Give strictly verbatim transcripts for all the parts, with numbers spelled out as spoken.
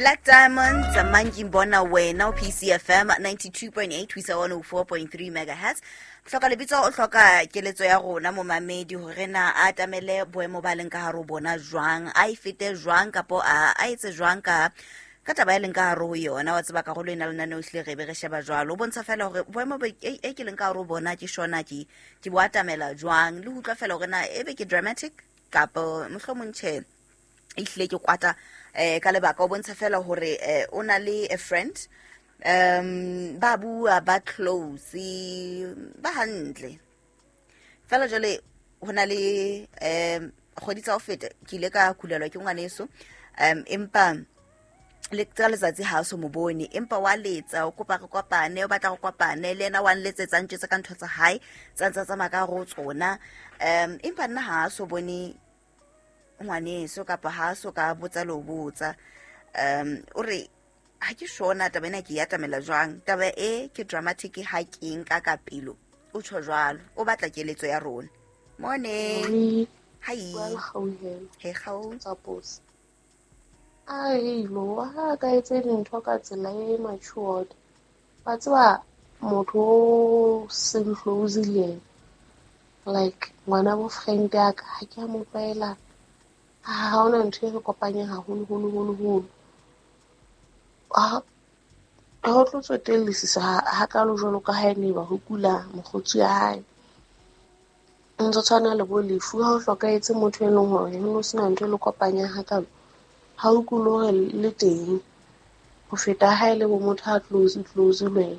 Black Diamond Mangimbona wena o P C F M ninety-two point eight ho isa one oh four point three megahertz. Hloka lebitso o hloka keletso ya rona momamedi hore na a atamele boemo ba leng ka hare ho bona jwang, a e fete jwang kapo a a etse jwang ka ka taba e leng ka hare ho yona. Wa tseba karolo ena lena o hlile re be re sheba jwalo, o bontsha fela hore boemo bo e, e ke leng ka hare ho bona ke shona ke ke bo atamela jwang, le ho utlwa fela hore na ebe ke dramatic kapo mohlomong tjhe e hlile ke kwata eh ka lebaka. O bontsha fela hore eh, o na le a friend, um ba bua ba close ba hantle fela. Jwale ho na le um kgwedi tsa ho feta ke ile ka kulelwa ke ngwaneso, um empa le ka letsatsi ha so mo bone, empa wa letsa o kopa re kopane, o batla go kopane le yena, wa nletsetsa ntjetse ka ntho tsa hae tsa ntsa tsamaya ka ho tsona, um empa nna ha so bone ngwaneso kapa ha so ka botsa le ho botsa. Um o re ha ke shona taba ena ke ya atamela jwang, taba e ke dramatic ha ke nka ka pelo, o tjho jwalo, o batla keletso ya rona. Morning. Hi. Hey gau. Tsa Ai lo ha ka etse dintho ka tsela e matured. Ba tseba motho o seng close le yena. Like ngwana bo friend ya ka ha ke a mo tlwaela, ha hona ntho e re kopanyang haholo holo holo holo. Ha ho tlo tsotellisisa ha kalo jwalo ka ha ene ba ho kula mokgotsi ya hae. Ntse tshwana le bo lefu ha o hlokahetse motho e leng hore ho no sena ntho e le kopanyang hakalo, ha o kule hore le teng ho feta ha ele bo motho a close close le wena.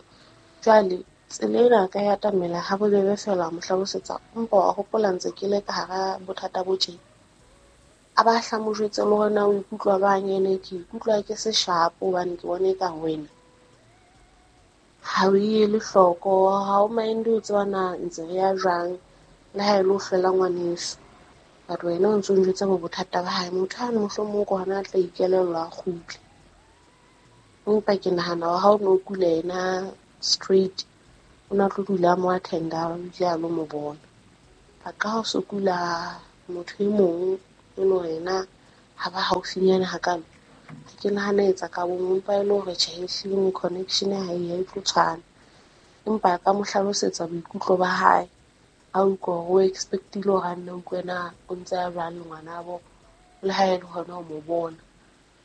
Jwale tsela ena ka ya atamela ha bobebe fela mo hlalosetsa, empa wa hopola ntse ke le ka hara bothata bo tje. A ba hla mo jwetse le hore na o ikutlwa bang, ene ke ikutlwa ke se sharp hobane ke bone ka wena ha o ele hloko, ha o mind o tseba na ntse re ya jwang le ha e le ho fela ngwaneso. But wena o ntso njwetsa bo bothata ba hae, motho ha mohlomong ke hona a tla ikelellwa a kgutle. Empa ke nahana hore ha o no kula yena straight, o na tlo dula mo attenda o ile a lo mo bona. Ba ka ho so kula motho e mong e le hore yena ha ba haufinyana hakalo, ha ke nahana etsa ka bong, empa e le hore tjhe, ehlile connection ha e ya e tlo tshwana. Empa ka mo hlalosetsa boikutlo ba hae, a utlwa hore o expect-ile hore a nne a utlwe na o ntse a jwang le ngwanabo, le ha e le hona ho mo bona.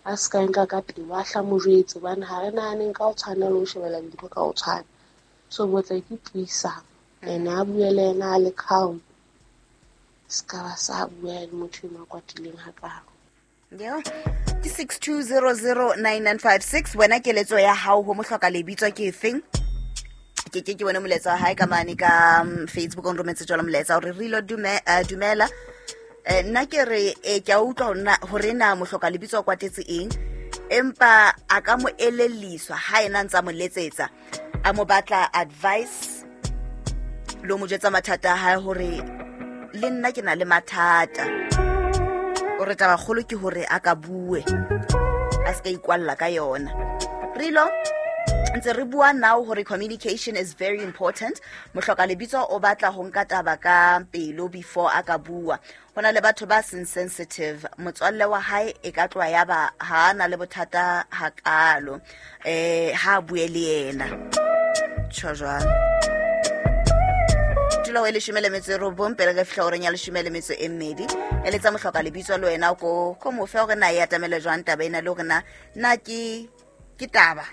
A se ka nka ka pelo, a hla mo jwetse hobane ha re nahaneng ka ho tshwana le ho shebella dintho ka ho tshwana. So botla ke puisano, ene a bue le yena a le calm, se ka ba sa bua le motho eno a kwatileng hakalo. Yeah. Ke six two zero zero nine nine five six. Wena keletso ya hao ho mohloka lebitso ke efeng? Ke ke ke bone molaetsa wa hae ka mane ka Facebook, o nrometse jwalo molaetsa hore re lo dume, uh, dumela. Eh, nna ke re eh, ke a utlwa hore na, hore na mohloka lebitso o kwatetse eng, empa a ka mo elelliswa ha ena ntsa mo letsetsa, a mo batla advice lo mo jwetsa mathata a hae hore le nna ke na le mathata. O re taba kgolo ke hore a ka bue, a se ka ikwalla ka yona. Rilo ntse re bua now hore communication is very important. Mohloka lebitso o batla ho nka taba ka pelo before a ka bua. Ho na le batho ba seng sensitive, motswalle wa hae e ka tloha ya ba ha na le bothata hakalo, eh ha bue le yena. Tjho jwalo. Tula o leshome le metso e robong pele re fihla horeng ya leshome le metso e mmedi. Eletsa mohloka lebitso le wena ko ko mo fe hore na e atamele jwang taba ena, le hore na na ke ke taba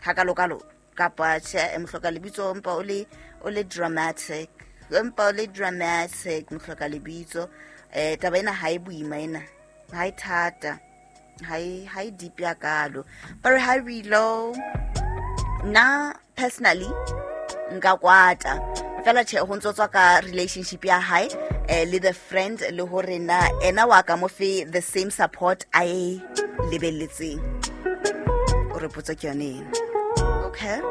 hakalokalo kapa tjhe. Mohloka lebitso empa o le o le dramatic, empa o le dramatic mohloka lebitso. Eh taba ena ha e boima, ena ha e thata, ha e ha e deep ya kalo. But ha re low na personally nka kwata fela tjhe ho ntso tswa ka relationship ya hae eh, le the friend, le hore na ena wa ka mo fe the same support a e lebelletseng. O re potso ke yone ena. Okay.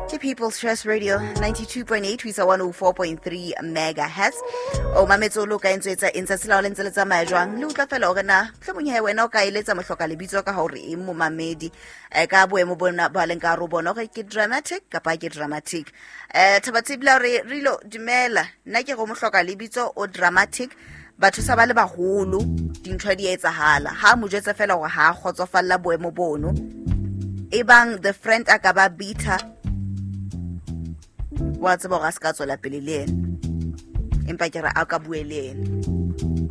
Ke People's Choice Radio ninety-two point eight ho isa one oh four point three megahertz. O mametse o lo ka entse etsa eng tsatsi la ho le ntse le tsamaya jwang? Le utlwa fela hore na mohlomong he wena o ka eletsa mohloka lebitso ka hore eng momamedi, eh, ka boemo bona ba leng ka hare ho bona hore ke dramatic kapa ke dramatic. Eh, Thaba Tsibla re Rilo dumela, nna ke go mohloka lebitso o dramatic, Batho sa ba le baholo, dintho di etsahala. Ha mo jwetsa fela hore ha a kgotsofalla boemo bono. Ebang the friend a ka ba bitter, wa tseba hore a se ka tswela pele le yena. Empa ke re a ka bue le yena.